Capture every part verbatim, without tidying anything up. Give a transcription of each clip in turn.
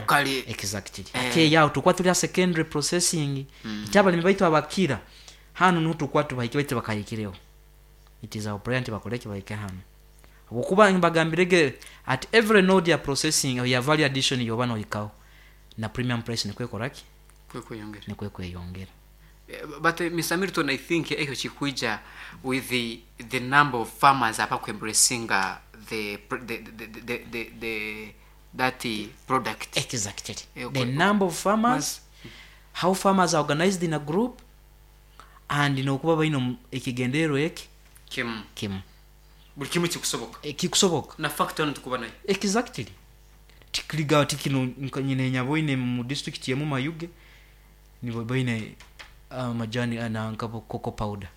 Locally. Exactly. Eh. Ate yaho tukuba turi ha secondary processing. Iti abalimi baitu abakira hanu niho tukuba tubahike, baitu bakahikireho. It is our prayer nti bakoreki, bahike hanu, habwokuba mbagambirege at every node ya processing ya value addition yoba nohikaho na premium price nikwo ekoraki. Kwe kweyongera. Nikwo kweyongera. Eh, but uh, Mister Milton, I think ekyo kikwija with the the number of farmers abakwembracinga the, pr- the, the, the, the, the, that uh, product. Exactly. Eh, The okay. number of farmers, how farmers are organized in a group, and nokuba baine omu- ekigendererwa eki kimu. Kimu. Buli kimu kikusoboka. Kikusoboka. Na factory hano tukuba nayo. Exactly. Tikiriga ati kino nka nyine nyaboine mu district yemu Mayuge nibo baine amajani nanka cocoa powder.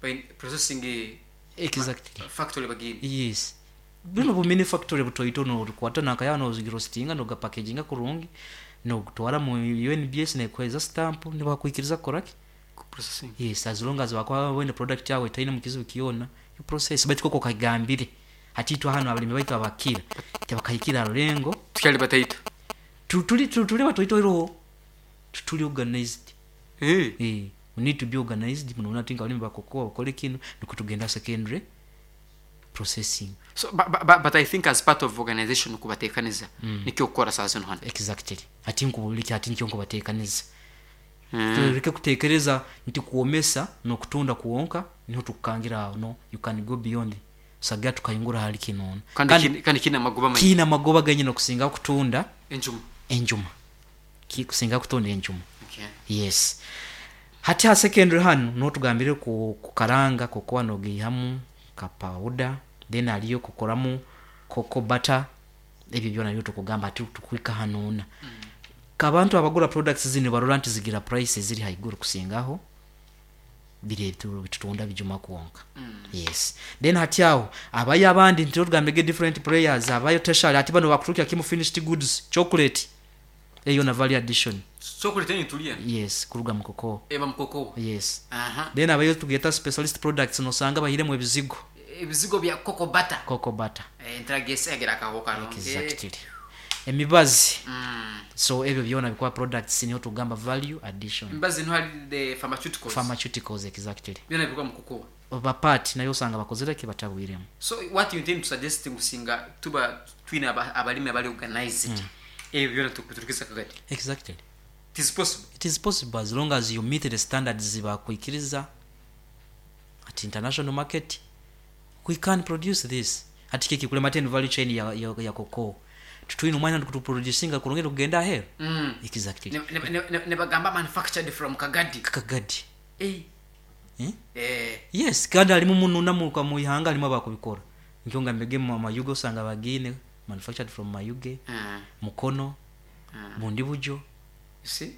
Bain- processing eh, Exactly. factory bagine. Yes, bino bu mini factory butoito norukwata nakaya noziroastinga nogapackaginga kurungi nogutwara mu U N B S nekweza stamp nibakwikiriza kukoraki. Processing. Yes, as long as bakwa wene product yawe etaine mu kizibu kiona, you process. Baitu koko kagambire hatitwa hano abalimi baitu abakira tebakahikira rulengo. Tukyali bataito. Tu- tuli tu- tuli batoito iroho tuli organized. Eh. Eh, we need to be organized muno ati abalimi bakokoa bakole kino niko tugenda secondary processing. So but, but, but I think as part of organization kubatekaniza mm. nikyo kukora saa zino hano. Exactly. Ati nkubuliki ati nikyo nkubatekaniza. Mm. Tuleke kutekereza nti kuomesa nokutunda kuwonka niho tukukangira aho. No, you can go beyond saga tukayingura hali kinona. kandi kine- kandi kine amagoba manyi. Kiina amagoba genyine okusinga kutunda enjuma. Enjuma. Ki- kusinga kutunda enjuma. Okay. Yes, hati ha secondary hano notugambire ku kukaranga cocoa nogihamu ka powder, then aliyo kukoramu cocoa butter. Ebyo byona byo tukugamba ati tukwika hanuna mm. Kabantu abagura products zino barora nti zigira price ziri haiguru kusingaho biri bitutunda bijuma kuwonka mm. Yes, then hati aho abayo abandi nti tugambege different players abayo tertiary, ati bano bakutukya kimu finished goods, chocolate eyo na value addition. Chocolate nitulia. Yes, kuruga mu cocoa. Eba mukoko. Yes. Aha. Then abayo tugeta specialist products, nosanga bahiremu ebizigo. Ebizigo bya cocoa butter. Cocoa butter. Eh, ntragesegera akaho kalonge. Exactly, emibazi. Mm. So ebyo byona bikuba products, niho tugamba value addition. Emibazi niho hari the pharmaceuticals. Pharmaceuticals, exactly. Byona bikuba mukoko. Bapati nayo osanga bakozere batabwiremu. So what you intend to suggest ngusinga tuba twine aba- abalimi abali organized mm. ebyo byona tukuturukiza kagati? Exactly. It is possible. It is possible as long as you meet the standards bakwikiriza at international market. We can produce this. Ati kiki kulema ten value chain ya, ya, ya cocoa tutwine omwanya tukutuproducinga kurungi kugenda aheru. mm. Exactly. ne, ne, ne, ne, ne bagamba manufactured from Kagadi. Kagadi. Eh. Eh? Eh. Yes, kandi halimu mununa mu mu ihanga halimu abakubikora nkyo nga mbege mu Mayuge osanga bagine manufactured from Mayuge. Mm. Mukono. Mm. Bundi bujo. You see?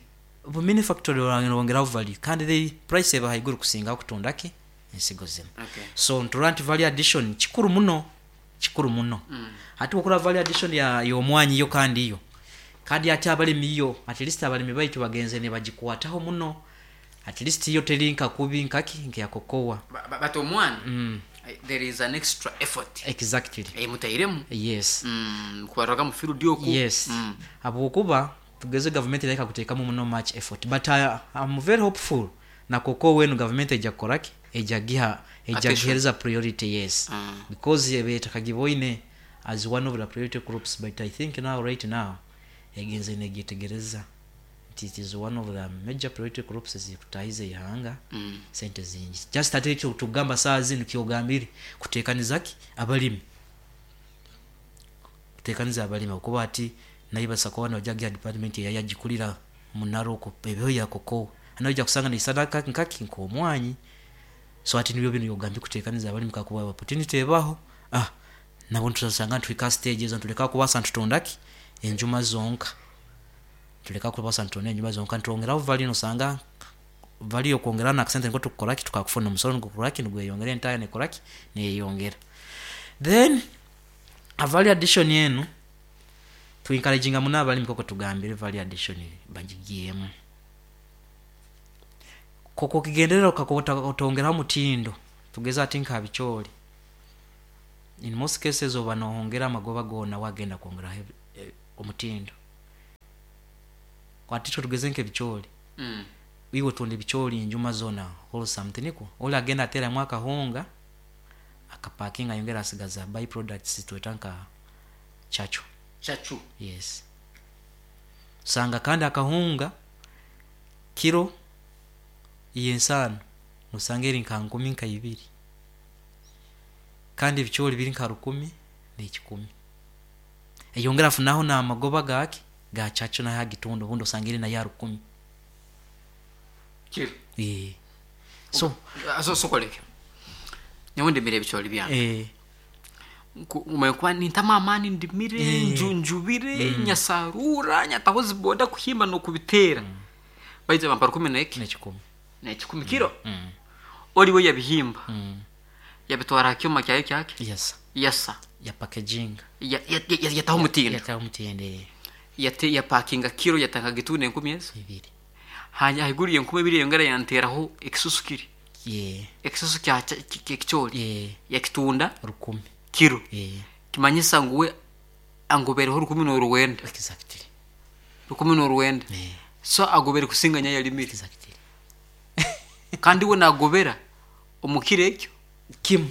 Bu mini factory bongeraho value kandi the price eba haiguru kusinga kutundaki ensigo zino. Okay. So nturora nti value addition kikuru muno, kikuru muno. Mm. Ati okura value addition ya y'omwanyi yo kandi yo kandi ate abalimi yo at least abalimi baitu bagenze ne bagikwataho muno. At least yo teri nka kubi nkaki nkeya cocoa. Ba- ba- but omwana mm. eh, there is an extra effort. Exactly. Eh, mutairemu. Yes. mm, kubaroga mu field oku. Yes. mm. Habwokuba tugeze gavumenti ereka kuteekamu muno much effort, but I, I'm very hopeful na cocoa wenu gavumenti ejja kukoraki, ejja giha ejja Attention. gihereza priority, yes. Mm. Because betakagibwoine as one of the priority groups, but I think now, right now, egenze negyetegereza nti it is one of the major priority groups ezikutahiza ihanga Mm. sente zingi. Just ate ekyo tugamba saa zino kyogambire kuteekanizaki abalimi, kuteekaniza abalimi okuba ati naibasa kuba nojagia department eyayagikulira munaroko ebyo ya cocoa anaija kusanga neisana nkaki nk'omwanyi. So ati nibyo bino yogambye kuteekaniza abalimi kakuba opportunity ebaho, ah nabo ntusanga ntwika stage ezo ntuleka kubasa ntutundaki enjuma zonka, tuleka kubasa ntutunda enjuma zonka, ntwongeraho value. Nosanga value okwongera na akasente niko tukukoraki tukakufuna omusoro nigukoraki nigweyongera entaya nekoraki neyeyongera. Then a value addition enu tuencouraginga muno abalimi koko tugambire value addition bagigiyemu koko kigenderera otongeraho mutindo. Tugeze ati nka bikyoli, in most cases oba nohongera amagoba gona wagenda kwongeraho eh, omutindo. Kwati tugeze nk'ebicoori. Mm. Iwe tunda ebicoori njuma zona wholesome tiniko oli agenda ateramu akahunga akapakinga ayongera asigaza by products tweta nka chachu. Chachu. Yes, sanga kandi akahunga kiro yensano nosanga eri nka nkumi nka ibiri, kandi ebicoori biri nka rukumi n'ekikumi, eyongera afunaho n'amagoba gake ga chachu nayo agitunda obundi osanga eri nayo rukumi. Kiro. Eh. So so sokoleke nyawe ndimire ebicoori byange. Eh, Kuba nintama amaani ndimire, Eh. nju njubire, nyasarura, nyataho ziboda kuhimba nokubiteera, baija bampa rukumi neki n'ekikumi. Nekikumi kiro. Mm. Oliwe yabihimba, Mm. yabitwara aha kyoma kyayo kyake. Yes. Yasa. Ya packaging. Ya- ya- ya- yataho omutindo. Yataho omutindo, eh. Yate yapakinga kiro, yatanga gitunda enkumi ezo. Ibiri. Hanya haiguru yenkumi ebiri yongera yanteraho ekisusu kiri, Yeah. ekisusu kya kya- ki- ekicoori, Yeah. yakitunda rukumi. Kiro. Eh. Kimanyisa ngu we angobereho rukumi n'oruwenda. Exactly. Rukumi n'oruwenda. Eh. So agobere kusinga nyayalimire. Exactly. Kandi we nagobera omukiro ekyo. Kimu.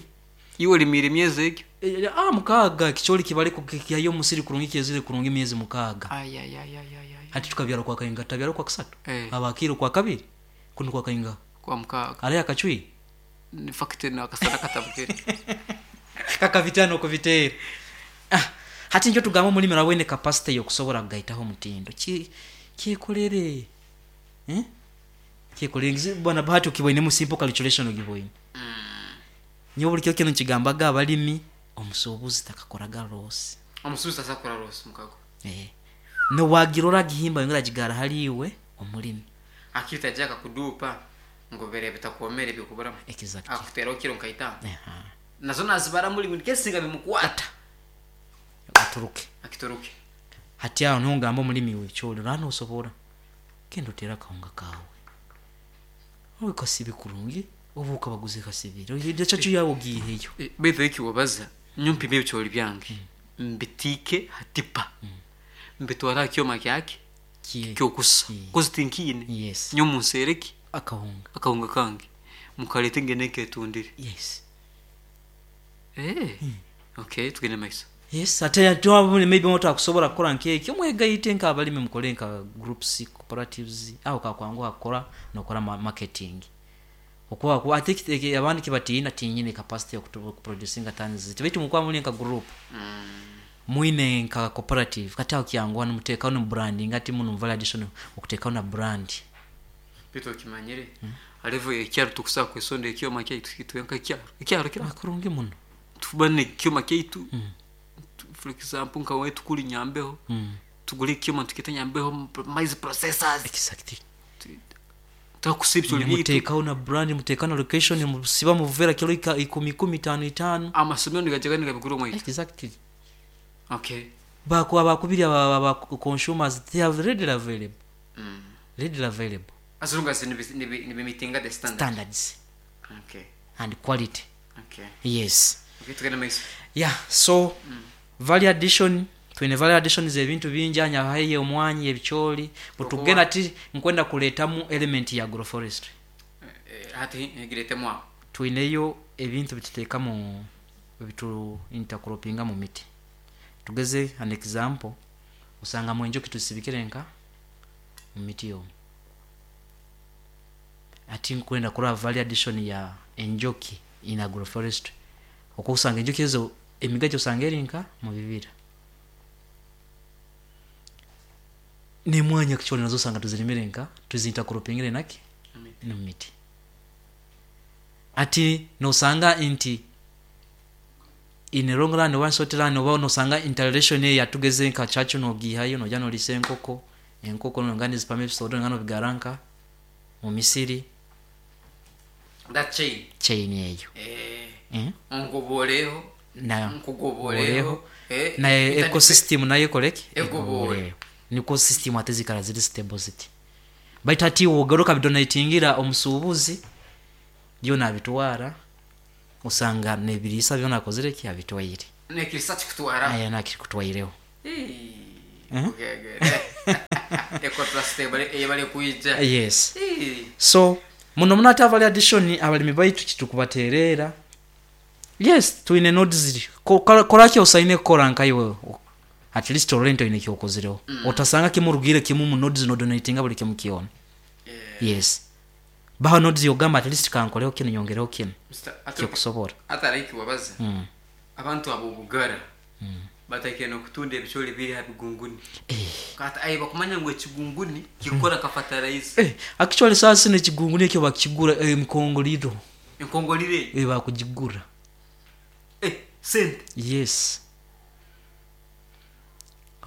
Iwe olimire emyezi ekyo. Eh, ah mukaaga ekicoori kibariko kihayo omusiri kurungi, kyezire kurungi emyezi mukaaga. Ayayayayayay. Hati tukabyara kwa kainga, tabyara kwa kusatu. Eh. Abakiro kwa kabiri kuno kwa kainga. Kwa mukaaga. Ari akacwi. Ni fakiti nakasana katabukire. Kaka vitano kubiteera. Ah, hati nikyo tugamba omulimi arabwine capacity yokusobora kugaitaho omutindo. Ki kyekolere, eh? Kyekolere. Ngizi- bwana Bahati, ukiboinemu simple calculation ogiboine. Nyowe buli kiro kino nkigambaga abalimi, omusuubuzi takakoraga loss. Omusuubuzi tasakora loss mukago. Eh. Nowagirora agihimba yongera agigara haliwe omulimi. Akiri tajaka kudupa ngobere bitakomere bikuburamu. Exactly. Akuteraho kiro nkaitano. Aha. Nazo nazibara muri buli kesinga bimukwata. Aturuke. Akituruke. Hati aho niho ngamba omulimi w'ebicoori, rano osobora genda otere akahunga kawe owe kasibe kurungi, oba okabaguze kasibire chachu yawe ogiiheyo. Baitu eki wabaza nyompime ebicoori byange, mbitiike hatipa, mbitwara aha kyoma kyake Kie- kyokusa. Mm. Kozi tinkiine. Yes. Nyo munsereki akahunga. Akahunga kange mukalete ngene nketundire. Yes. Eh, okay, tugende maiso. Yes, ate twabone maybe motakusobola kukola nkekyo, mwegaite nk'abalimi, mukole nka groups, cooperatives, aho kakwanguha kukora nokora ma- marketing okuba kuba ate kite- abandi kibatiina tinyine capacity yokuproducinga tons ziti, baitu mukuba muli nka group, mwine nka cooperative, kati aho kyanguha nimuteekaho ni branding, ati muno value addition okuteekaho na brand. Baitu okimanyire alevo ekyaro tukusaa kwesonda ekyoma kyaitu kitwenka ekyaro ekyaro kira. Kurungi muno. Tuba nekyoma kyaitu. Tu- for example nka wetu kuli Nyambeho, tugule ekyoma tukita Nyambeho maize processors. Exactly. Twakusa ebicoori byaitu. Muteekaho na brand, muteekaho na location, musiba muvera kilo ika- ikumi ikumi, itano itano. Amasomero nigajaga nigabigura omwaitu. Exactly. Okay. Bakuba bakubiri aba aba consumers, they are readily available, readily available. As long as nibimitinga the standard. Standards okay and quality. Okay. Yes. Okay, tugende maiso. Yeah, so value addition, twine value addition zebintu bingi anyahaye omwanyi, ebicoori, butugenda ti nkwenda kuletamu element ya agroforestry. Eh, hati giretemu aho. Twineyo ebintu bituteeka mu bitu intercroppinga mu miti. Tugeze an example, osanga mu enjoki tusibikire nka mu miti yomu, ati nkwenda kuraba value addition ya enjoki in agroforestry, okusanga enjoki ezo emigajo osanga eri nka mu bibira nemwanya kicholi, nazo osanga tuzirimire nka tuzintercroppingire naki Emiti. Mu miti, ati nosanga nti in a long run oba short run oba nosanga interrelation eyo yatugeze nka chachu nogihayo noja nolisa enkoko, enkoko nonga nizipama ebisoro nga nobigaranka mu misiri. That chain. Chain eyo. Eh. Eh? Ongoboleho. Na Nkugoboleho. Eh, na interdep- ecosystem nayo ekoleki. Egobole. Niko system ate zikala ziri stable ziti, baitu ati wogaruka bidonatingira omusuubuzi byo nabitwara, osanga nebiriisa byona akozire ki abitwaire. Nekirisa kikutwara. Aya nakikutwaireho. Eh, okay, okay. Yes, so muno muno ate value addition abalimi baitu kitukubaterera. Yes, twine nodes, koraki osaine kukora nkaiwe, at least orente oine kyokozireho. Otasanga kimurugire kimu mu nodes nodonatinga buli kimu kyona. Yes, baho nodes yogamba at least kankoleho kinu, nyongereho kinu kyokusobora. Ataraiki wabaza abantu abo bugara batakire nokutunda ebicoori biri ha bigunguni, kati ayi bakumanya ngu ekigunguni kikora ka fertilizer. Eh, actually sasa ekigunguni ekyo bakigura emikongoliro. Enkongolire. Eh, bakugigura. Eh, sente. Yes,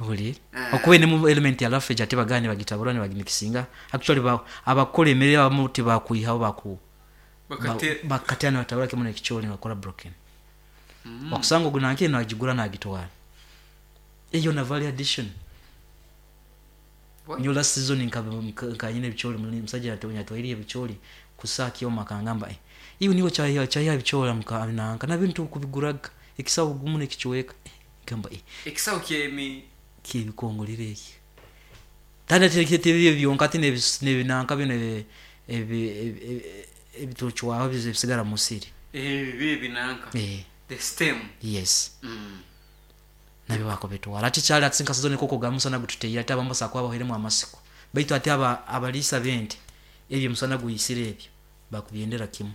owulire okuba enemu element ya roughage, ate bagane bagitabura nibagimikisinga. Actually ba, abakora emere abamu tibakwihaho, baku Bakate- bakatya nibatabura kimu nekicoori nibakora broken. Wakusanga ogu nanke nagigura nagitwara, eyo na value addition. What? Nyo last season nkanyina ebicoori, musajja yatwaire ebicoori kusaaki kangamba, eh, iwe niwe chaya chaya ebicoori muka nanka nabintu kubiguraga ekisawo gumu nekichweka. Eh, gamba eh, ekisawo kyemi kyebikongolire eki tanda teketebyo byonka ati nebinanka bino ebi- ebi- ebi- ebitucwaho bisigara musiri. Ebi binanka eh, the stem. Yes. Mm. Nabyo bakobitwara ati kyali ati nka season koko gamusana gututeire, ate abamu basakuba baheremu amasiko, baitu ate aba abalisa bente ebyo musana guyisire ebyo bakubyendera kimu,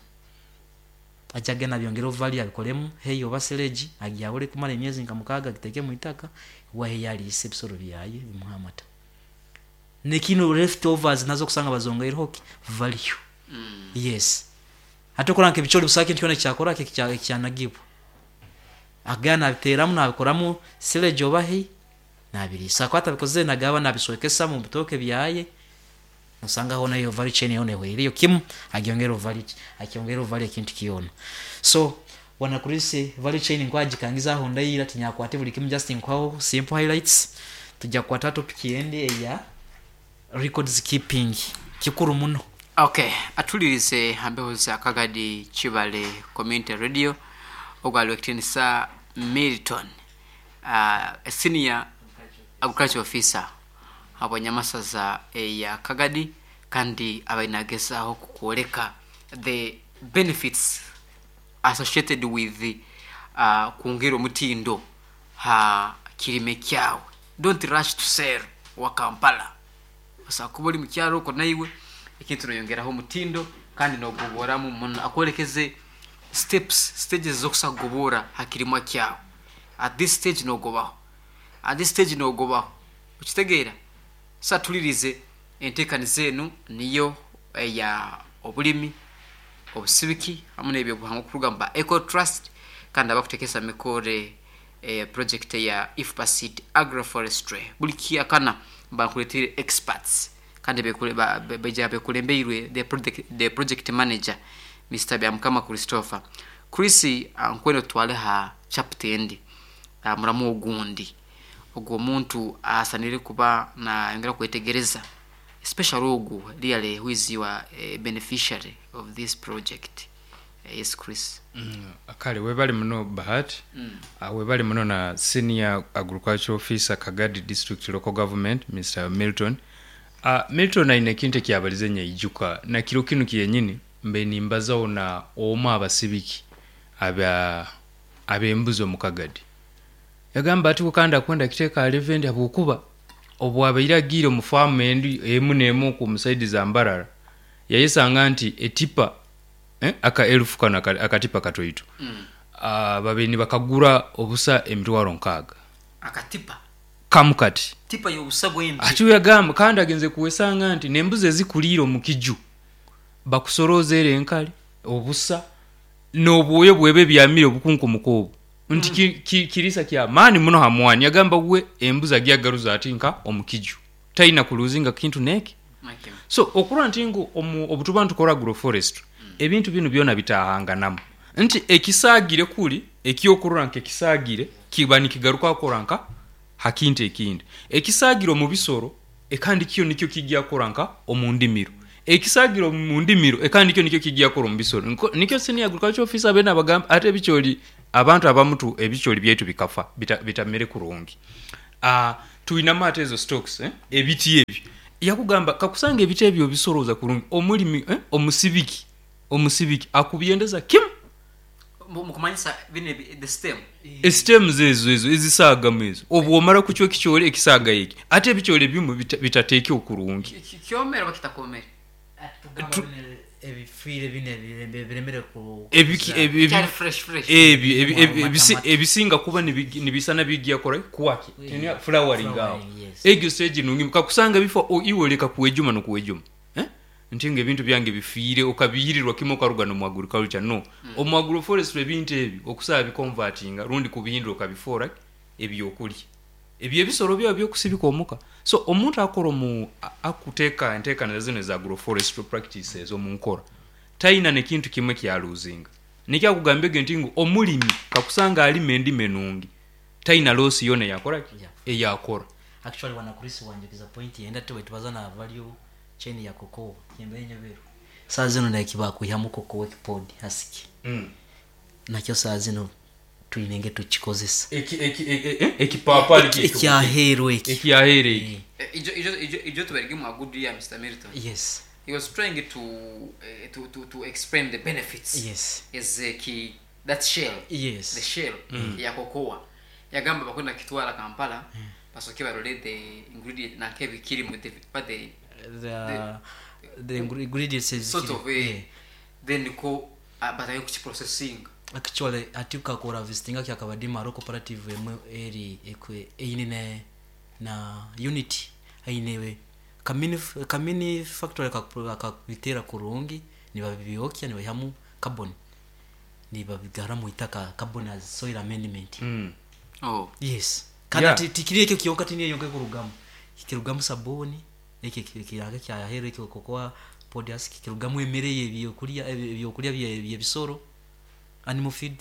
ajagenda byongera value, abikolemu hay oba silage, agyawule kumala emyezi nka mukaaga, agiteeke mu itaka wahe yaliisa ebisoro byaye bimuha amata, nekino leftovers nazo kusanga bazongeireho ki value. Mm. Yes, ate okola nka ebicoori busaka kintu kyona kyakora ekyanagibwa agana nabiteramu nabikoramu silage oba hay nabiriisa, ko atabikoze nagaba nabiswekesa mu bitoke byaye, osanga hona iyo value chain yona ehweriyo kimu, agyongera value, akyongera value ekintu kyona. So bwana Chris, value chain nkwagikangiza aho ndayira tinyakwate buli kimu, just nkwaho simple highlights. Tujja kukwata topic yendi eya records keeping, kikuru muno. Okay, atulirize hambeho za Kagadi Kibale Community Radio, ogwali wekitinisa Milton, uh, senior agriculture officer abanyamasaza eya Kagadi, kandi abainagezaho kukwoleka the benefits associated with uh, kwongera omutindo ha kirime kyawe. Don't rush to sell wa Kampala, osobola kuba oli mukyalo okwo naiwe ekintu noyongeraho omutindo kandi nogoboramu muno. Akwolekeze steps, stages zokusa kugobora ha kirimwa kyawe. At this stage nogobaho, at this stage nogobaho, okitegeera? Sa tulirize enteekaniza enu niyo eya obulimi, obusibiki hamu n'ebyobuhangwa okuruga mu ba Eco Trust, kandi abakutekesa mikore eh, project ya IFPASID agroforestry. Buli kiakana bakuletire experts kandi bekule- ba- be- beja bekulembeirwe the project, the project manager Mister Byamukama Christopher. Chris, nkwene tutwale ha chapter endi, ah, muramu ogundi ogwo omuntu asanire kuba nayongera kwetegereza, especially ogu really who is your eh, beneficiary of this project. Eh, yes Chris. Mm, kale webali muno Bahati. mm. uh, webali muno na senior agriculture officer Kagadi District Local Government, Mister Milton. uh, milton aine ekintu ekyabalize nyaijuka na kiro kinu kyenyini mbe nimbazaho na omu abasibiki aba abembuzi omu Kagadi, yagamba ati kandi akwenda kiteeka alevendi habwokuba obwabaire agiire omu faamu endi emu n'emu ku musaidi za Mbarara, yayesanga nti etipa eh, aka elufu kano aka- akatipa katoito mm. uh, babaire nibakagura obusa emitwaro nkaaga. Akatipa? Kamu kati. Tipa yobusa bwembi. Ati yagamba kandi agenze kuwesanga nti nembuzi ezikuliire omu kiju bakusorooza era enkali obusa n'obwoyo bwebe ebyamire obukunkumuka obu nti ki- ki- kirisa kya maani muno hamwani. Yagamba we embuzi agyagaruza ati nka omu kiju talina kuluzinga kintu neki. Okay. So okurora nti ngu omu- obutuba nitukora agroforestry, ebintu binu byona bitahanganamu nti ekisaagire kuli ekyokurora nka ekisaagire kiba nikigaruka kukora nka hakintu ekindi, ekisaagire omu bisoro ekandi kyo nikyo kijja kukora nka omu ndimiro, ekisaagire omu ndimiro ekandi kyo nikyo kijja kukora omu bisoro. Nko- nikyo senior agriculture officer bene abagamba ate ebikyoli abantu abamutu ebikyoli byaitu bikafa bita, bitamere kurungi. uh, tuinamu ate ezo stocks, eh? Ebiti ebyo Yakugamba kakusanga ebiti ebyo obisoroza kurungi, omulimi, eh, omusibiki omusibiki akubyendeza kimu. Mukumanyisa bino ebi- the stem. Esitemuzi ezo ezo ezisaagamu ezo, obu omara kucwa ekikyole ekisaaga eki, ate ebikyole bimu bita- bitateeke kurungi. Ki- ki- kyomere oba kitakomere? Tugamba bino ebifiire, bino ebirembe- biremere ku Ebiki- ebi- ebi- Kyali fresh fresh. Ebyo ebi- ebi- Amata- ebisi- amata. Ebisinga kuba nibigi- nibisana bigyakora kwaki Yeah. flowering awo. Flowering, yes. Egyo stage nungi kakusanga bifo o- iwe oleka kuwejuma nokuwejuma, eh? Nti nga ebintu byange bifiire, okabiyirirwa kimu okaruga nomu agriculture, no omu agroforestry ebintu ebyo okusaba biconvertinga rundi kubihindura okabifoora ebyokulya ebyo ebisoro byawe byokusibika omuka. So omuntu akora omu a- akuteeka enteekaniza zino eza agroforestry practices omu nkora, talina nekintu kimwe kyaluzinga. Nikyakugambege nti ngu omulimi kakusanga alima endima enungi, talina loss yona eyakora ki? Yeah. Eyakora. Actually, wana Chris, wanjukiza point yenda tuwe tubaza na value chain ya cocoa yembe nyoberu. Saa zino nakiba kuihamu cocoa ekipod husk mm. nakyo saa zino tulinenge tukikozesa. Eki- eki- e- e- ekipaapali kyekyo. Ekyaheeru eki. Ekyaheera eki. Eh, ijo ijo ijo ijo tuberege a good year, Mister Milton. Yes. He was trying to uh, to, to to explain the benefits yes is uh, ki that shell, yes the shell ya cocoa. Yagamba bakwenda kitwala Kampala, basoke barole the ingredient nakebikiri mu the but the the the ingredients ezikiri- sort of, eh, yeah. then ko uh, batayo kukiprocessing. Actually, ati ukakora visitinga kyakabadi maro cooperative emwe eri ekwe eine ne na unit ainewe kamini kamini factory akabitera kurungi, nibabibyokya, nibayihamu carbon, nibabigara mu itaka, carbon as soil amendment. Mm. Oh. Yes, kandi Yeah. yeah. Tikiri ekyo kyonka, tiniyo yonka ekurugamu, kirugamu sabuni ekyo kiranga kyahera ekyo cocoa pod husk, kirugamu emere ebyokulya ebyokulya bye- byebisoro, animal feed.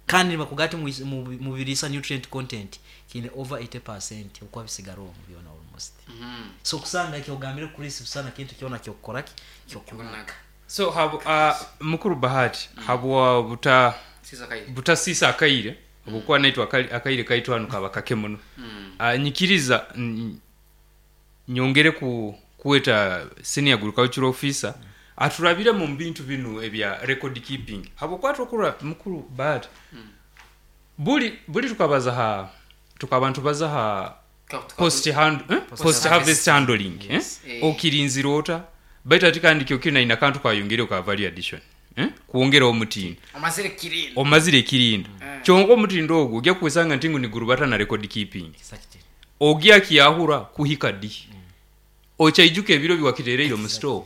Kandi bakugati mubirisa nutrient content kine over eighty percent okwa bisigara omwo byona almost. mm So kusanga ekyo ogambire Chris busana kintu kyona kyokukoraki kyokunaga. Kunaga. So habu, uh, mukuru Bahati, habwa buta Siza kai. Butasisa akaire obukuba naitwe akali- akaire kaitu hanu kaba kake muno. mm. uh, nyikiriza mm, nyongere ku kuweta senior agricultural officer aturabire mu bintu bino ebya record keeping, habwokuba tukura mukuru Bahati, buli buli tukabaza ha tukaba ntubaza ha Ka- tuka- post hand, eh? Post harvest handling, eh? Yes. Eh. Okirinzira ota baitu ati kandi kyo kina ina kantu kayongere ka value addition, eh? Kuongera omutindo. Omazire kirinda. Omazire ekirinda. Mm. Kyonka omutindo ogwo ojja kwesanga nti ngu nigurubata na record keeping. Exactly. Ogya kiyahura kuhika di okyaijuka ebiro biwakitereire mu store,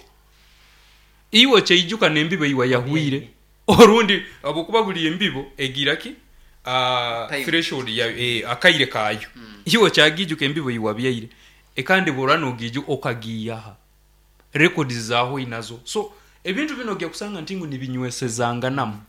iwe okyaijuka nembibo iwa yahwire orundi, habwokuba buli embibo egira ki uh, Time. threshold ya eh, akaire kayo. Iwe okyagijuka embibo iwa byaire ekandi bora nogiju okagiyaha records zaho inazo. So ebintu bino ojja kusanga nti ngu nibinywesezanganamu.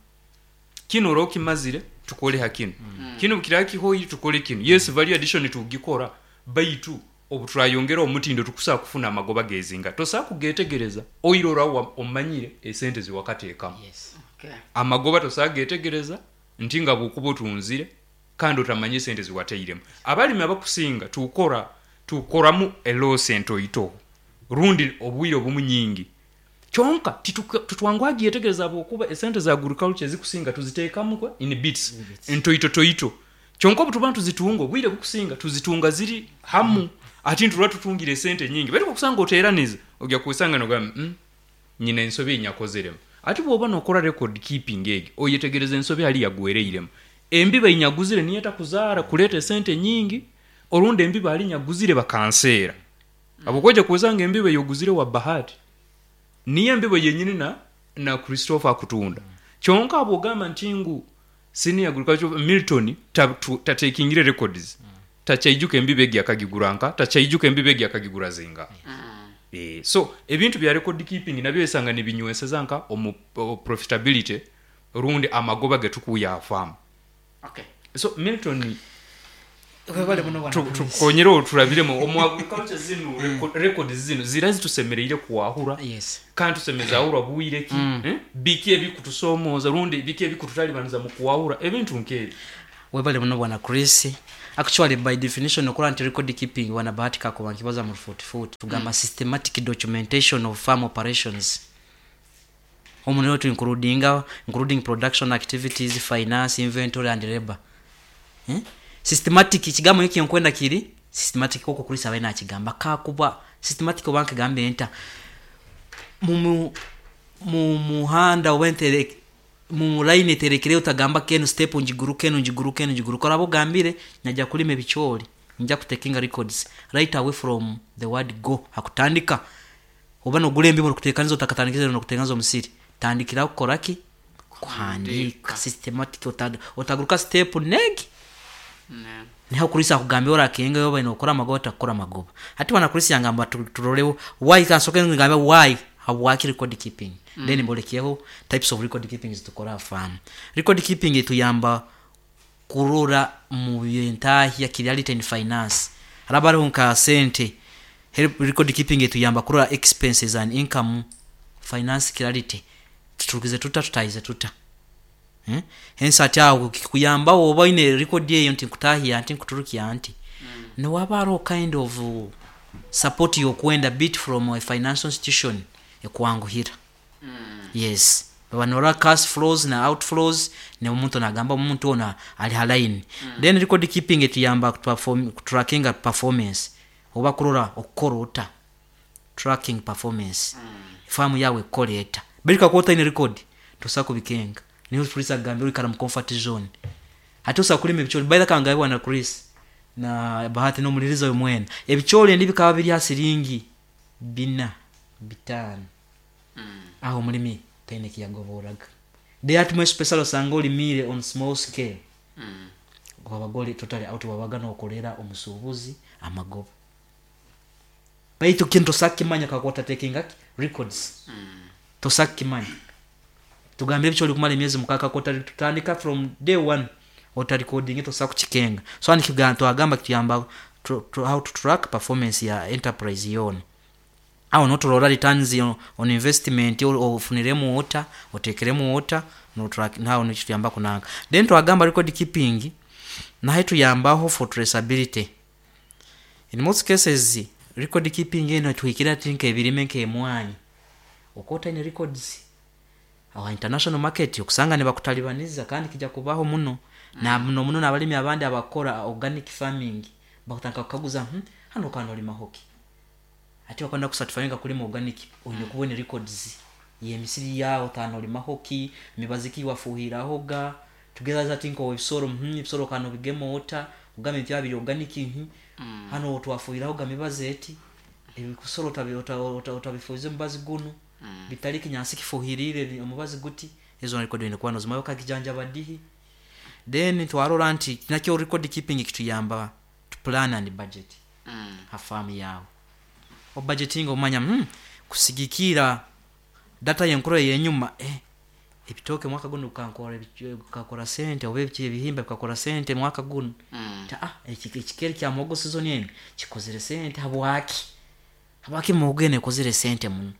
Kino ora okimazire tukole ha kino, kino kiraba kihoyi tukole kino. Yes, value addition tugikora, baitu obu turayongera omutindo tukusaa kufuna amagoba gezinga tosaa kugetegereza oiro ora omanyire esente ziwakateekamu. Yes. Okay. Amagoba tosaa getegereza nti nga bwokuba otunzire kandi otamanye esente ziwateiremu. Abalimi abakusinga tukora tukoramu e loss entoito rundi obwire obumu nyingi, kyonka tituka- tutwangwagyetegereza bwokuba esente za agriculture zikusinga tuziteekamu kwa in bits, In bits. ntoito toito. Kyonka obu tuba tuzitunga obwire bukusinga tuzitunga ziri hamu, ati nturwa tutungire esente nyingi, baitu okusanga oteraniza ojja kusanga nogamba, mm, nyina ensobi enyakozeremu. Ati bwoba nokora record keeping egyo, oyetegereza ensobi hali yagwereiremu, embiba inyaguzire niyo etakuzaara kuleeta esente nyingi, orundi embiba hali nyaguzire bakanseera. Abokojja kusanga embiba yoguzire wa Bahati niyo embibo yenyini na na Christopher akutunda. Kyonka abogamba nti ngu senior agriculture Milton tatekingire records, takyaijuka embibo egi akagiguranka, takyaijuka embibo egi akagigura zinga. Eh, so ebintu bya record keeping nabyo esanga nibinyweseza nka omu o- profitability rundi amagoba getukuya afamu. Okay. So Milton, webale muno bwana tu- Chris. tukonyere oturabiremu omu agriculture zino reco- records zino zira zitusemereire kuwahura Yes. kandi tusemeza ahurwa bwire ki, eh? Biki ebikutusomooza rundi biki ebikututalibaniza mu kuwahura ebintu nk'ebyo? Webale muno bwana Chris. Actually, by definition, okura nti record keeping wana bahati kakuba nkibaza mu forty-four tugamba systematic documentation of farm operations. Omu tu including including production activities, finance, inventory and labor. Eh? Systematic kigambo hiki nkwenda kiri systematic koko kulisa bena kigamba kakuba systematic obanka gambe enta mu mu muhanda wentere mu line terekere utagamba kenu step njiguruke enu njiguruke enu njiguruke orabo gambire najya kulima ebichori nja kutekinga records right away from the word go hakutandika oba no gulembi mu kutekaniza utakatandikiza no kutenganza omusiri tandikira kukoraki kuhandika systematic utaguruka step negi Ne. niho kulisa kugambira orakenga yoba inokora magoba takora magoba hati wana kulisa yangamba turolewo why kansoke ngambe why habwaki record keeping mm. Then mbolekeho types of record keeping zitukora farm record keeping ituyamba kurora mu byentahya reality in finance harabariho nka sente help record keeping ituyamba kurora expenses and income finance clarity tutukize tuta tutayize tuta. Hmm? Hence ati awo kikuyamba oba ine record eyo nti nkutahia nti nkuturukia nti mm. No wabaro kind of support yokwenda bit from a financial institution ekwanguhira mm. Yes, banora cash flows na outflows ne omuntu nagamba omuntu ona ali halaini mm. Then record keeping etuyamba perform tracking performance oba kurora okorota tracking performance mm. Farm yawe koleta berika kwota ine record tosako bikenga niho Chris agambye uri kara mu comfort zone ati usakulima ebichori by the kanga bwana Chris na Bahati no muliriza we mwene ebichori ndi bikaba biri hasiringi bina bitano mm. Aho mulimi tene kiyagoboraga they at more special sangoli mire on small scale mm. Wabagoli totally out wabaga no kolera omusubuzi amagoba baitu kintu sakimanya kakota taking records mm. Tosakimanya tugambire bicho kumala emyezi mukaka kota tutandika from day one ota recording ito saku chikenga so ani kiganto agamba kituyamba to, to, how to track performance ya enterprise yona awo no tulora returns on, on investment ofuniremu ota otekeremu ota no track nawo no kituyamba kunanga then twagamba record keeping na tuyambaho for traceability in most cases record keeping eno tuhikira tinka ebirime nke emwanyi okota in records awa international market okusanga ne bakutalibaniza kandi kijja kubaho muno mm. Na muno muno nabalimi abandi abakora organic farming bakutanga kukaguza hmm, hano kano lima hoki ati bakanda kusatisfyinga kulima organic oyine mm. Kubone records ye misiri yao tano lima hoki mibaziki wafuhirahoga tugeza tinko ebisoro hmm, ebisoro kano bigemo ota ugame bya biri organic hmm. Mm. Hano twafuhirahoga mibaze eti ebikusoro utabifuze mubazi guno mm. Bitali kinyasi kifuhirire omubazi guti ezo record ine kwano zimayo kakijanja badihi then twarora nti nakyo record keeping kituyamba to plan and budget mm. Hafamu yao o budgeting omanya mm, kusigikira data yenkuro yenyuma eh ebitoke mwaka guno kankora kakora sente oba ebihimba bikakora sente mwaka guno mm. Ta ah ekikeri kya muhogo season ene kikozere sente habwaki habwaki muhogo kozere sente muno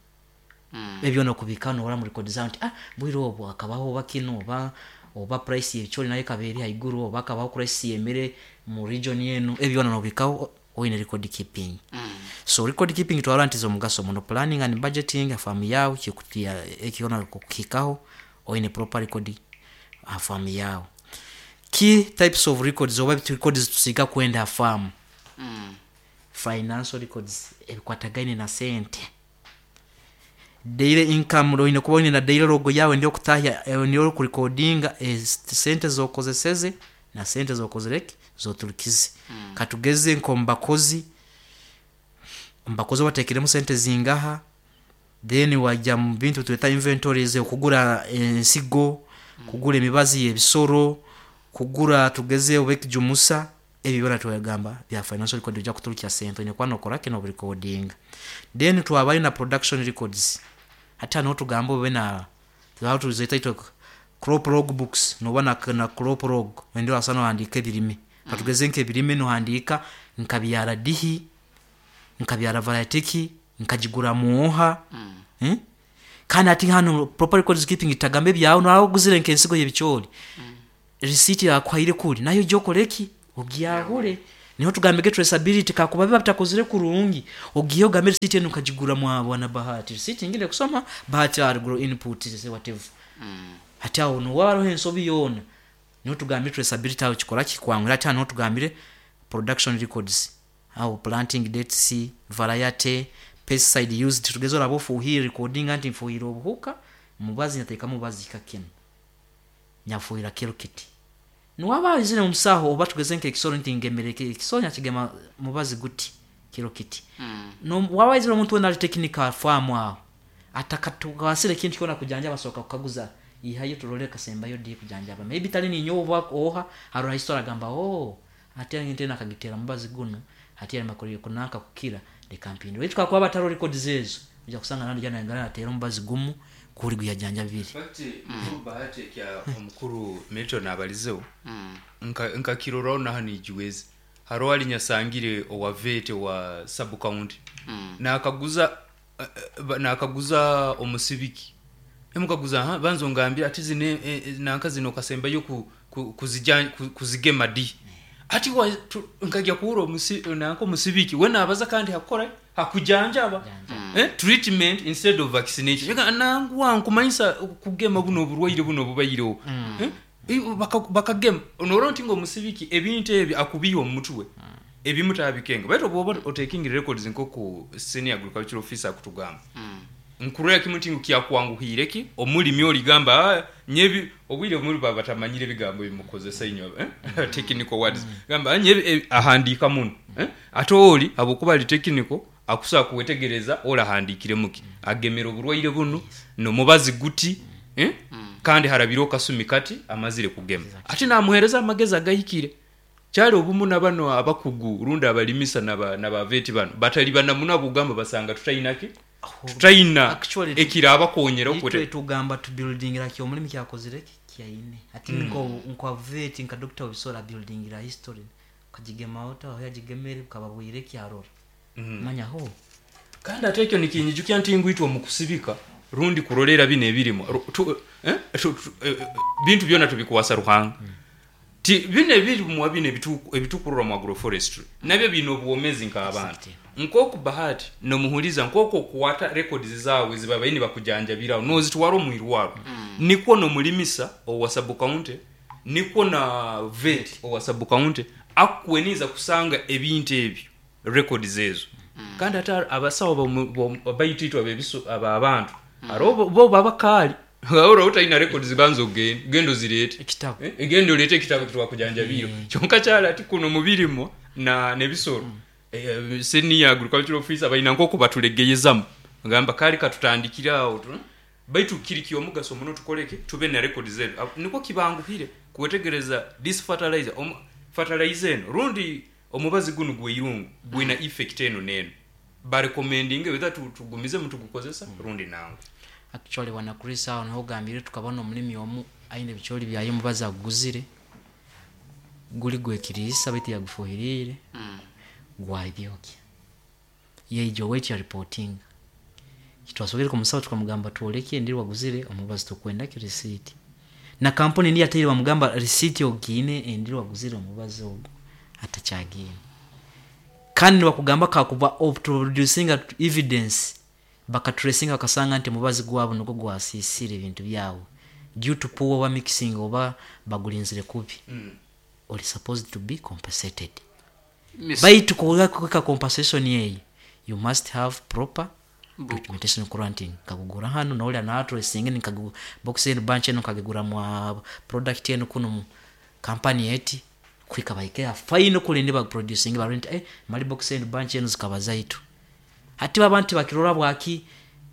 mm. Ebyo no kubikano ora mu record zawo nti ah bwiro obwo akabaho bakino oba oba price yebichori naye kaberi haiguru oba akabaho price yemere mu region yenu ebyo no bikaho oyine record keeping mm. So record keeping twara nti zo mugaso muno planning and budgeting farm yao kikutia ekiona kukikaho oyine proper record farm yao key types of records oba records tusiga kwenda farm mm. Financial records ebikwatagaine na sente daily income roine kubona na daily logo yawe ndio kutahya ndio kurecordinga sente zokozeseze na sente zokozereki zoturukize mm. Katugeze nko mbakozi mbakozi batekeremo sente zingaha then wajya mu bintu tweta inventories okugura ensigo mm. Kugura emibazi y'ebisoro kugura tugeze obekijumusa ebyo byona twagamba bya financial record bijya kuturukya sente ne kwano kora kino recording then twabayo na production records hata no tugamba obe na tuzeta ito crop log books no bana na crop log ndio asana handika ebirime mm. Katugeze nke ebirime no handika nkabyara dihi nkabyara variety nkajigura muoha mm. Hmm? Kandi ati hano proper records keeping itagambe byawo nawo guzire nke ensigo y'ebichori mm. Receipt yakwaire kuri nayo jokoreki Ogyahure niho tugambege traceability kakuba biba bitakozire kurungi, ogiye ogambe receipt eno nkagigura mwa bwana Bahati, receipt ngire kusoma Bahati agro input say whatever. Hati awo no waro ensobi yona niho tugambire traceability awo kikora kikwangura. Ati hano tugambire production records awo planting dates, variety, pesticide used, tugeze oraba ofuhire recording anti nfuhire obuhuka mubazi nyateeka mubazi kakino nyafuhira kiro kiti niwaba izine omusaho oba tugeze nk'ekisoro nti ngemere ekisoro nyakigema mubazi guti kiro kiti. Mm. No waba izire omuntu wena ali technical farm aho atakatugasire kintu kyona kujanja basoka kukaguza ihayo turole kasembayo di kujanjaba maybe tali ninyo oba oha arora history agamba oh ati ngente nakagitera mubazi guno ati ari makori kunanka kukira de kampini wetu kwa bataro records ezo uja kusanga nandi jana ngana atera mubazi gumu kuri guyajanja bibiri. Fact mukuru Bahati kya omukuru Milton abalizeho Mm. nka nkakiroraho naha nijiwezi haro ali nyasangire owa vete wa sub county. Mm. Nakaguza eh, eh, nakaguza omusibiki emukaguza ha banzo ngambira ati zine eh, eh, nanka zino kasembayo ku, ku, kuzija ku, kuzigema di ati wa tu, nkajya kuhura omusi nanka omusibiki we nabaza kandi hakora hakujanjaba eh, treatment instead of vaccination. Ega nangwa nkumanyisa kugema buno oburwaire buno bubayireho. Eh, i- baka- bakagema onora nti ngomusibiki ebintu ebi akubiye omutwe ebimu tabikenga baitu bwoba otaking records nkoku senior agricultural officer akutugamba. Mm. Nkurora kimu nti kyakwanguhire ki omulimi oligamba "Ah, nyebi obwire omuli baba batamanyire ebigambo bimukozesa inyo eh? Technical words. Gamba "Ah, nyebi eh, ahandika muno eh? Ate oli abokuba ali technical akusa kuwetegereza ola ahandikire muki agemera oburwaire buno no mubazi guti eh? Kandi harabiro kasumi kati amazire kugema ate namuhereza amagezi agahikire kyali obumu na bano abakugu runda abalimisa naba nabaveti bano batali banamuna bugamba basanga tutayinaki tutayina Actually, ekira abakonyera itwe okwete tugamba tu building ra kyomulimi kyakozire ki kyaine ati mm. nko nko vet nka doctor obisola building ra history kagigema ota aho yagigemere kababwire kyarora. Mm. Manya ho kandi ate ekyo nikinyijukya nti ngwitwa mu kusibika rundi kurolera bino ebirimu Ru- tu, eh, tu, tu, eh, eh, bintu byona tubikuwasa Ruhanga. Ti bino ebirimwa bino ebitu- ebitukurura mu agroforestry nabyo bino obuwomezi nk'abantu. Exactly. Nkoku Bahati nomuhuliza nkoku okuwata records zawe zibabaini bakujanjabiraho nozitwara omwirwaro. Nikwo nomulimisa owa sub county nikwo na vet owa sub county akukweniza kusanga ebintu ebyo records ezo. Kandi ate abasawo bomu- bomu- abaititwa bebiso aba abantu aro bo- bo babakali ora utaina records banzo genda gendo zirete ekitabo. Eh, egendo olete ekitabo kitwakujanjabiro kyonka kyala ati kuno mubirimo na nebisoro. Eh, senior agricultural officer balina nk'oku batulegeyezamu ngamba kali katutandikira awo tu baitu kiri kyomugaso muno tukoleke tube na records zetu. Ab- niko kibanguhire kuwetegereza this fertilizer om, fertilizer eno rundi omubazi guno gweirungu gwina effect eno neno barecommending whether tu- tugumize mutugukozesa rundi nango. Actually wana Chris awo niho gambire tukabona omulimi omu aine ebikyoli byaye mubazi aguzire guli gwekiriisa baitu yagufuhirire. Mm. Gwabyokya yeijo wait ya reporting kitwasobere kumusawo tukamugamba twoleke endiri waguzire omubazi tukwenda ki receipt na kampuni ndi yateire bamugamba receipt ogine endiri waguzire omubazi ogwo atakyagine kandi bakugamba kakuba producing evidence bakatracinga bakasanga nti mubazi gwabo nugwo gwasisire ebintu byabo due to poor oba mixing oba bagulinzire kubi. Mm. Oli supposed to be compensated. Miss- Baitu kuweka compensation yeyi you must have proper Book. documentation granting nkagugura hano nauli anatracing nikagu box enu bunch enu nkagigura mwa product enu kuno mu company yeti kwika baike fine kule ndi ba producing ba rent eh mali box enu bunch enu zikaba zaitu hati babantu bakirora bwaki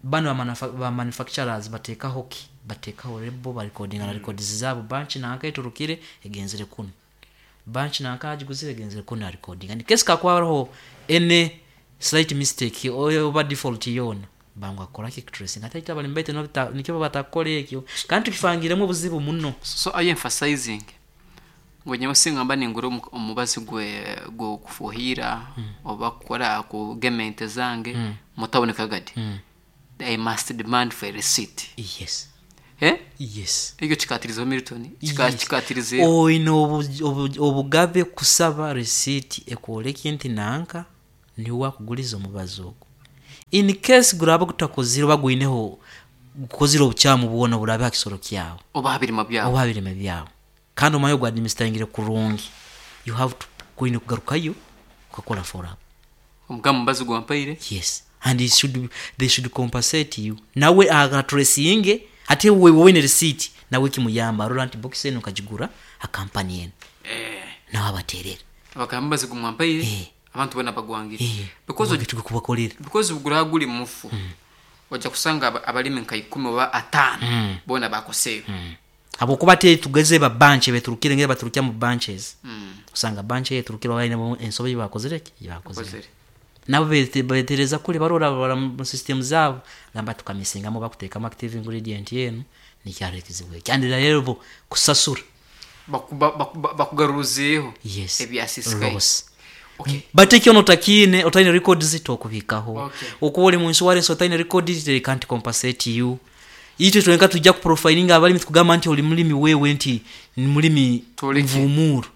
bano ba manufa-, ba manufacturers batekaho ki batekaho lebo ba recording na records zabo bunch na nkayiturukire egenzere kuno bunch na nkagiguzire egenzere kuno na recording and case kakwaroho any slight mistake oba default yona bangwa akora ki tracing ate ita bali mbete no bita- nikyo batakora ekyo kandi tukifangiremu obuzibu muno. So are you emphasizing ngo nyewe singamba ningura omu- omubazi gwe gwokufuhira oba kukora kugema ente zange mutaboneka gadi, I must demand for a receipt? Yes. Eh? Yes. Ekyo kikatirizeho Milton. Kika Yes. Kikatirizeho. Oine obu- obu- obugabe kusaba receipt ekwoleka nti nanka niwe wakuguliza omubazi ogwo. In case guraba gutakozire oba gwineho gukozire obukyamu bwona burabe ha kisoro kyawe oba ha birima byawe oba ha birime byawe, kandi omanye ogwa administeringire kurungi, you have to kwine kugarukayo ukakora follow up. Omugamba omubazi gwampaire. Yes, and it should be, they should compensate you. Nawe agatresinge ate wewe wine receipt, nawe kimuyamba arora nti box eno nkagigura ha company eno, eh nawe abaterera. Abagamba omubazi gumwampaire. Eh. Abantu bona bagwangire Eh, because because kubakolera. Because gura guli mufu, ojja kusanga aba- abalimi nka ikumi oba ataano bona bakoseyo. Habwokuba te tugeze ba bunch beturukire ngere baturukya mu bunches, Mm. usanga bunch yeturukira bayine ensobe bakozire ki bakozire. Bakozire. Nabo bete- betereza kule barora barora mu system zabo, gamba tukamisingamo bakuteekamu active ingredient yenu nikyaro ekizibu kandi rero bo kusasura. Bakuba- bakuba- bakugaruzeeho Yes. ebyasisikaye. Loss. Okay. But ekyo notakiine otaine records tokubikaho. Okay. Okuba oli mu insurance otaine records, they can't compensate you. Itwe twenka tujja kuprofilinga abalimi tukugamba nti oli mulimi wewe nti ni mulimi Toleke. nvumuru.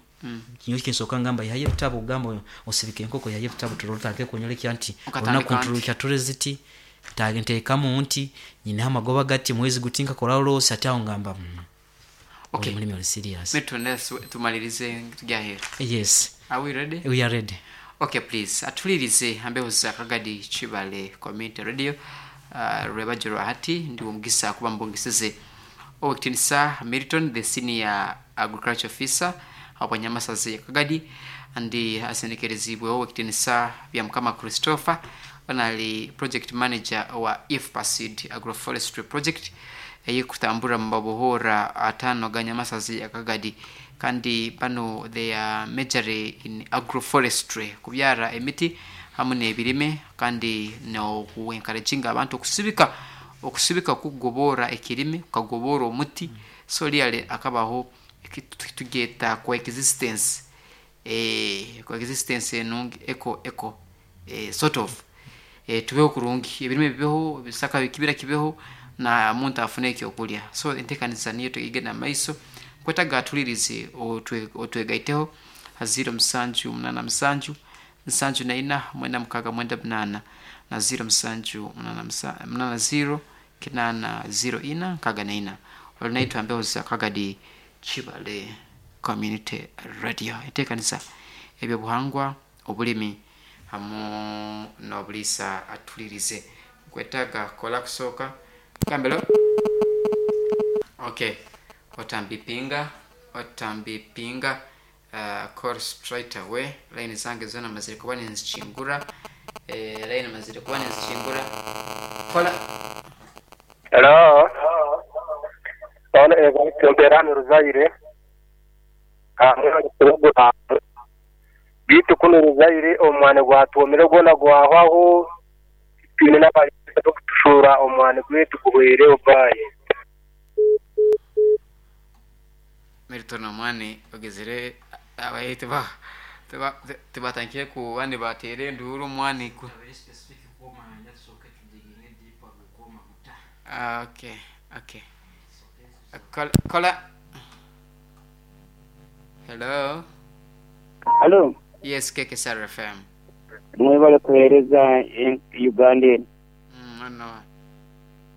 Kinyo kinsooka ngamba yaye ebitabo, ogamba osibike enkoko yaye ebitabo turotake kunyolekya nti Okatandika olunaku nti. nturukya tureziti ntage nteekamu nti nyina amagoba gati mwezi guti nkakola loss, ate awo ngamba mm, Okay. oli mulimi oli serious. Milton, let's tumalirize tujahera. Yes. Are we ready? We are ready. Okay, please atulirize ambeho za Kagadi Kibale Community Radio. uh, rwebajiro hati ndi omugisa kuba mbongesize owekitinisa Milton, the senior agriculture officer abanyamasazi ya Kagadi, andi asendekerezibwe owekitinisa bya Mukama Christopher, onali project manager wa IFPASID agroforestry project eyikutambura mu mabohora atano ga Nyamasazi ya Kagadi, kandi bano they are majoring in agroforestry, kubyara emiti hamwe n'ebirime, kandi nokuencouraginga abantu okusibika okusibika kugobora ekirime kukagobora omuti. So really akabaho tugeta coexistence, eh coexistence enungi eco eco eh, sort of eh, tubeho kurungi, ebirime bibeho, ebisaka bikibira kibeho, na muntu afune ekyokulya. So entekanisa niyo tugenda maiso. Kwetaga atulirize otwe- otwegaiteho ha ziro musanju munana musanju nsanju na ina mwenda mukaga mwenda munana na ziro musanju munana musa- munana ziro kinana ziro ina nkaga na ina. Olinaitwa mbeho za Kagadi Kibale Community Radio, entekanisa ebyobuhangwa, obulimi hamu n'obulisa. Atulirize nkwetaga kola kusooka gambelo. Okay, otambipinga otambipinga uh, call straight away. Line zange zona mazire kuba ninzichingura, eh, line mazire kuba ninzichingura. Kola. Hello. Ono Evariste Ruzaire. Bitu kuno Ruzaire omwana gwatwomere gwona gwahwaho, twine n'abalisa kutushura omwana gwetu guhwere obaye. Milton, omwani ogezere abaye teba teba tebatangire ku bandi batere enduru omwani ku. Ah, okay okay Kola, kola. Hello. Halo, Yes, K K S R F M. mwebale kuheereza eh, Uganda eno. mm, ano.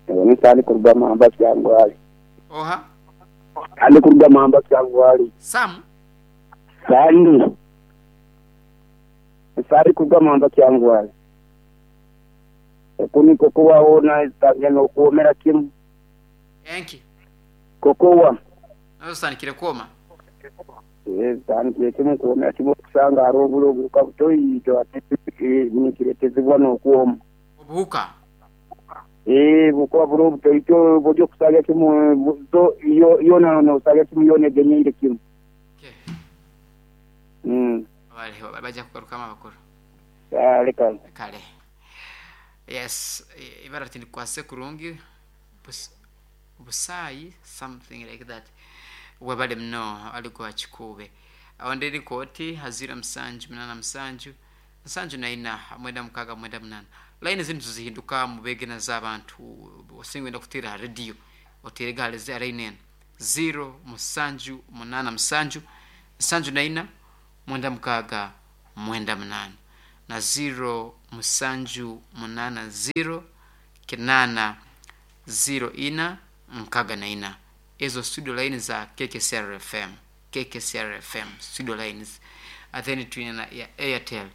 Omusani kuruga Mamba Kyangwali. Oha. Ali kuruga Mamba Kyangwali. Sam. Sandi. Sari kuruga Mamba Kyangwali. Okuni kokowa ona tangena okuwomera kimu. Enki. Kokowa. Nazo sandikire kwoma. Eh, tandikire kimu kuwomera kimu kusanga hariho oburo obuhuka butoito ate eh, nikiretezibwa n'okwoma. Obuhuka. Eh, bukuba buro butoito buryo kusanga kimu bu- zo yo yona nosanga kimu yona egenyeire kimu. Okay. Mm. Bali bajja kugarukamo abakuru. Ah, leka. Kale. Yes, i- ibara tinikwase kurungi Bus, busayi something like that. Webale mno aliko akikube. Awo ndiri kooti hazira musanju munana musanju nsanju na ina mwenda mukaga mwenda munana. Line zinu tuzihinduka mubege na z'abantu osinga wenda kutira ha radio. Oterega hali eno zero musanju munana musanju nsanju naina mwenda mukaaga mwenda munana na zero musanju munana zero kinana zero ina nkaga na ina. Ezo studio line za K K C R F M, K K C R F M studio lines. Then twina ya Airtel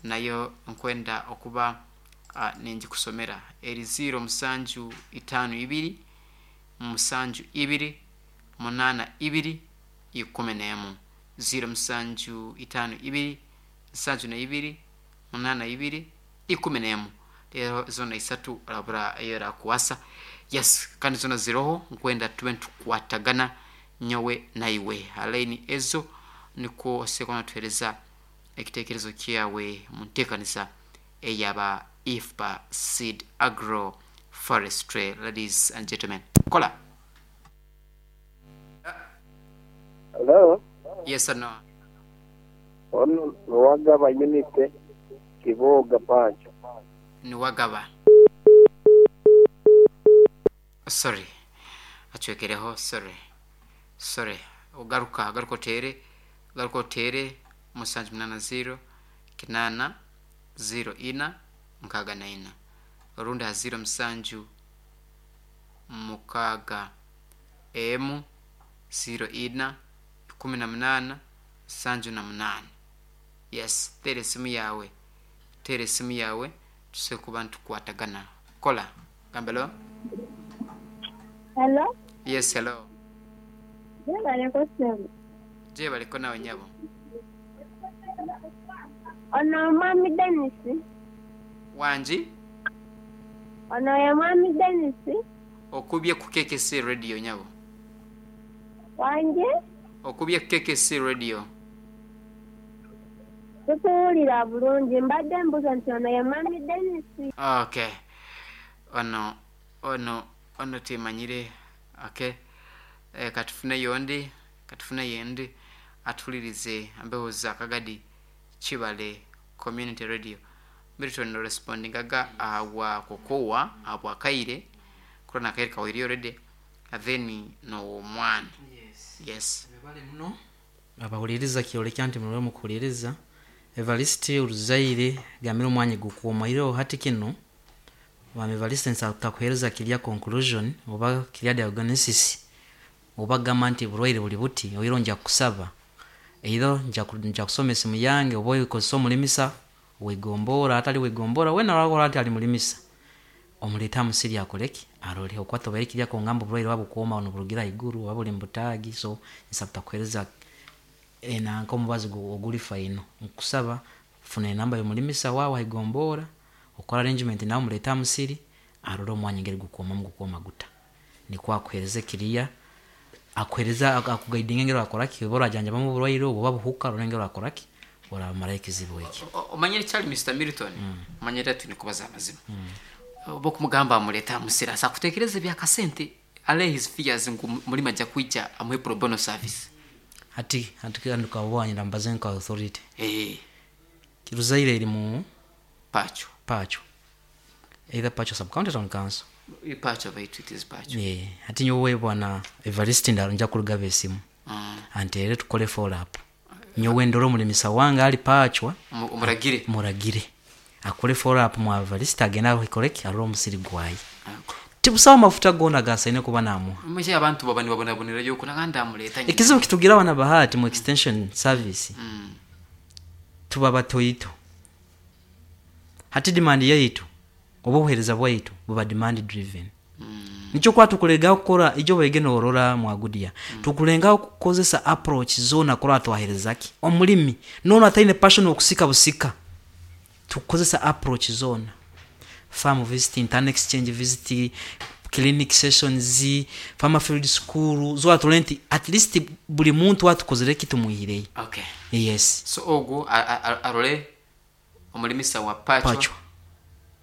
nayo nkwenda okuba uh, nenjikusomera eri zero musanju itano ibiri musanju ibiri munana ibiri ikumi n'emu, zero musanju itano ibiri nsanju na ibiri munana ibiri ikumi n'emu. Rero zona isatu rabura era kuwasa. Yes, kandi zona ziroho nkwenda tube tukwatagana nyowe naiwe alaini ezo niko sekona tuhereza ekitekerezo kyawe muntekanisa eyaba I F P A Seed Agro Forestry. Ladies and gentlemen, kola. Hello. Yes or no? Ono Wagaba unit Kiboga Pacho. Ni Wagaba, sorry, achwekereho, sorry sorry, ugaruka garuka otere garuka otere musanju munana zero kinana zero ina mukaaga na ina, orundi ha zero musanju mukaaga emu zero ina ikumi na munana nsanju na munana. Yes, tera esimu yawe, tera esimu yawe tuse kuba ntukwatagana. Kola gambelo. Hello? Yes, hello. Jebaleko sebo. Jebaleko nawe nyabo. Ono mwami Dennis. Wanji? Ono ye mwami Dennis. Okubye ku K K C radio nyabo. Wanji? Okubye ku K K C radio. Tukuwulira bulungi, mbadde mbuuza nti ono ye mwami Dennis. Okay. Ono ono ono timanyire. Okay. E, katufune yondi, katufune yendi atulirize ambeho za Kagadi Kibale Community Radio. Milton responding aga awa kokowa abwa kaire kurana kaire kawiri already then no mwana. Yes. Yes. Bale muno abawuliriza kyolekya nti mulwe mukuwuliriza Evariste Uruzaire gamira omwanya gukuomaire hati kino wame Evariste nsakuhereza kirya conclusion oba kirya diagnosis oba gamba nti burwaire buli buti oiro nja kusaba eiro nja nja kusoma esimu yange oba oyikozesa omulimisa wegombora atali wegombora wena wakora ati ali mulimisa omuleta musiri akoleki arole okwata obaire kirya kongamba oburwaire wabukuoma ono burugira iguru oba buli mbutagi. So nsaba kuhereza enanka omubazi oguli faino nkusaba funa enamba y'omulimisa wawe aigombora okora arrangement nawe omuleta musiri arole omwanya ngeri gukuoma mugukuoma guta nikwo akuhereze kiriya akuhereza akugaidinga ngero akoraki oba orajanjabamu oburwaire obwo oba buhuka arore ngero akoraki oramara ekizibu eki. Omanyire Charlie Mister Milton, omanyire ati nikubaza amazima oba okumugamba amuleta musiri asa kutekereza ebyakasente ale his fears ngu mulima ajja kwija amuhe pro bono service. Hati hati ndukabwanyira mbaze nka authority. Eh. Ruzaire eri mu Pacho. Pacho. Either Pacho sub county town council. Pacho baitu it is Pacho. Yeah. Hati nyowe bwana Evariste nja kurugaba esimu. Mm. Antere tukole follow up. Nyowe ndoro mulimisa wange ali Pachwa. Muragire. Muragire. Akole follow up mu Evariste agenda akoleki aroro musiri gwayi. Tibusawa mafuta gona gasaine kuba namuha. Mwishe abantu baba nibabonabonera yuko naganda amuleta. Ekizibu kitugira abana bahati mu extension service. Mm. Tuba batoito. Hati demand yaitu oba obuhereza bwaitu buba demand driven. Mm. Nikyo kwa tukulengaho kukora ijo bwegene orora mwagudia. Mm. Tukulengaho kukozesa approach zona kora twaherezaki. Omulimi nono ataine passion okusika busika. Tukozesa approach zona. Farm visit, internet exchange visit, clinic sessions, farmer field school, zo atulenti at least buli muntu atukozere kitu muhirei. Okay. Yes. So ogu arole omulimisa wa Pacho. Pacho.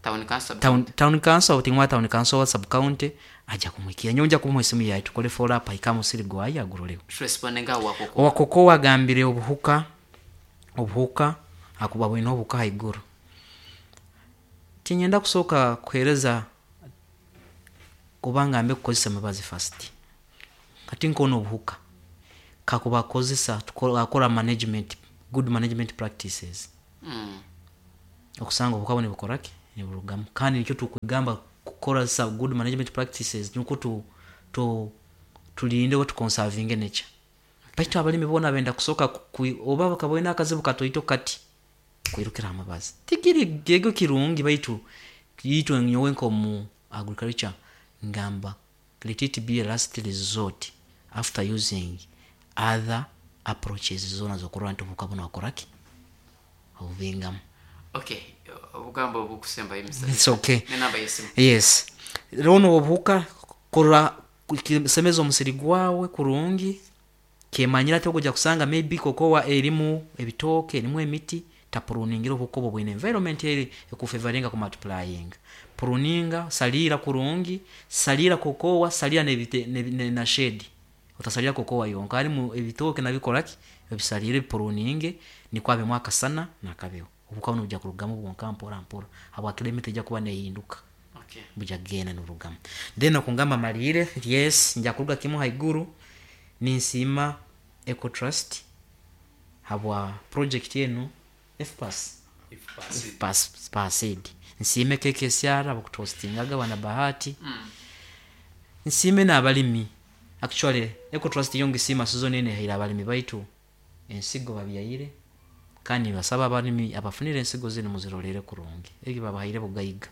Town council. Town, town council otingwa town council wa sub county aja kumwikia nyonja kumuha esimu yaye tukole follow up ikamu siri gwayi aguroleho. Respondinga wakoko. Wakoko wagambire obuhuka obuhuka akuba bwino obuhuka haiguru. Tinyenda kusoka kuhereza Kuba ngambe kukozesa emibazi first. Kati nkona obuhuka kakuba akozesa akora management, good management practices, Mm. okusanga obuhuka buno nibukoraki, niburugamu. Kandi nikyo tukugamba kukoresa good management practices, nukwo tu, tu, tulinde oba tuconservinge nature. Baitu abalimi boona benda kusooka ku- oba bakabona akazibu katoito kati kwirukira amabazi, tikiri gego kirungi. Baitu itwe nyowe nk'omu agriculture ngamba let it be a last resort after using other approaches zoona zokurora nti obuhuka buno wakoraki, obubingamu. Okay, obugambo obukusembayo, Mister It's okay. Nenamba yesimu. Yes, rono obuhuka kurora semeza omusiri gwawe kurungi, kemanyira ati okuja kusanga maybe kokowa erimu ebitooke, erimu emiti, tapruningira obuhuka obwo bwine environment eri ekufavoringa ku multiplying. Pruninga, salira kurungi, salira kokowa, salira nebite, ne, ne, na shade. Otasalira kokowa yonka, harimu ebitooke nabikoraki, ebisalire, pruninge, nikwo abemu akasana nakabeho, obuhuka buno bujja kurugamu bwonka mpora mpora, habwakira emiti ejja kuba nehinduka. Okay. Bujja kugenda niburugamu. Then okungamba malire, yes, nja kuruga kimu haiguru ninsiima Ecotrust habwa project enu F P A S, F P A S P A S I D. Nsiime K K S R abakutuhostingaga, bana Bahati. Mm. Nsiime n'abalimi. Actually Ecotrust yo ngisiima season eno ehaire abalimi baitu ensigo babyaire, kandi nibasaba abalimi abafunire ensigo zinu muzirolere kurungi. Egi babahaire bugaiga,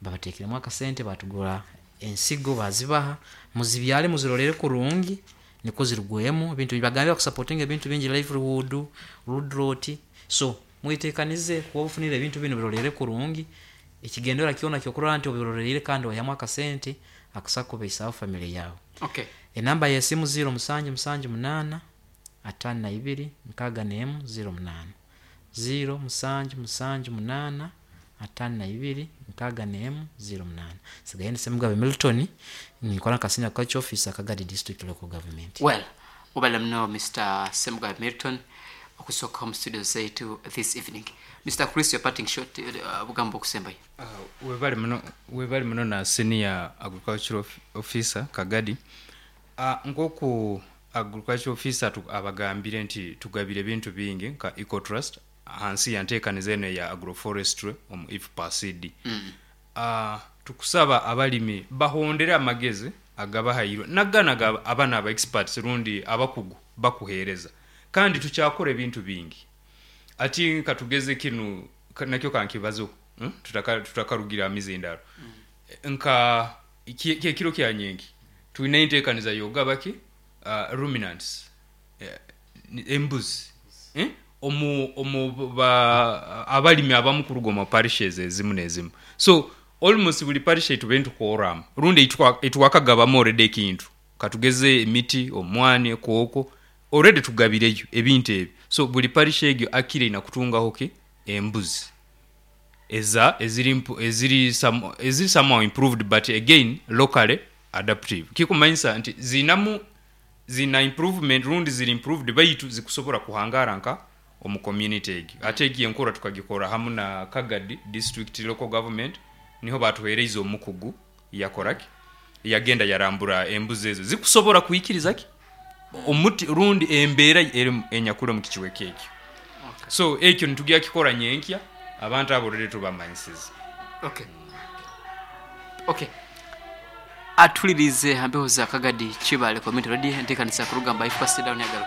babatekeremu akasente, batugura ensigo, bazibaha, muzibyale, muzirolere kurungi nikwo zirugwemu ebintu. Bagambye bakusupportinga ebintu bingi, livelihood, root rot, so mwetekanize kuba obufunire ebintu binu birolere kurungi. Ekigendera kyona kyokurora nti obirolereire kandi ohamu akasente akusa kubeisaho family yawe. Okay. Enamba yesimu zero musanju musanju munaana atano na ibiri nkaaga n'emu zero munaana, zero musanju musanju munaana atano na ibiri nkaaga n'emu zero munaana. Sigaye ndi Semugabe Milton, ninkora nka senior agriculture officer, Kagadi District Local Government. Well, ubale mno Mister Semugabe Milton okusooka mu studio zaitu this evening. Mister Chris, your parting shot, uh, obugambo okusembayo. Uh, webali muno, webali muno na senior agricultural of- officer Kagadi. uh, nkoku agricultural officer tu, abagambire nti tugabire ebintu bingi nka Ecotrust hansi ya nteekaniza eno eya agroforestry omu I F P A C D. mm. uh, tukusaba abalimi bahondere amagezi agabahairwe nagana ga- abana aba experts rundi abakugu bakuheereza, kandi tukyakora ebintu bingi. Ati katugeze kinu ka- nakyo kankibazo, hmm? tutaka tutakarugira amizindaro mm. Nka ki- kyekiro kya nyengi tulina enteekaniza yogabaki uh, ruminants, eh, ni- embuzi, eh? omu omu ba abalimi abamu kuruga omu parishes ezimu n'ezimu. So almost buli parish etube ntukoramu rundi etwakagabamu already ekintu, katugeze emiti, omwani, kooko, already tugabireyo ebintu ebyo. So buli parish egyo akire ina kutungaho ki embuzi eza eziri mpu- eziri some, eziri somehow improved, but again locally adaptive, kikumanyisa nti zinamu zina improvement rundi ziri improved, baitu zikusobola kuhangara nka omu community egyo. Ate egi enkora tukagikora hamu na Kagadi District Local Government, niho batuhereize omukugu yakoraki, yagenda yarambura embuzi ezo zikusobola kuikiriza ki omuti rundi embeera eri enyakuli omu kikiweka ekyo. Okay. So ekyo nitugya kikora nyenkya, abantu abo rero tubamanyisize. Okay. Okay. Atulirize hambeho za Kagadi Kibale Community Radio, enteekanisa kurugamba I F P A C down yagaruka.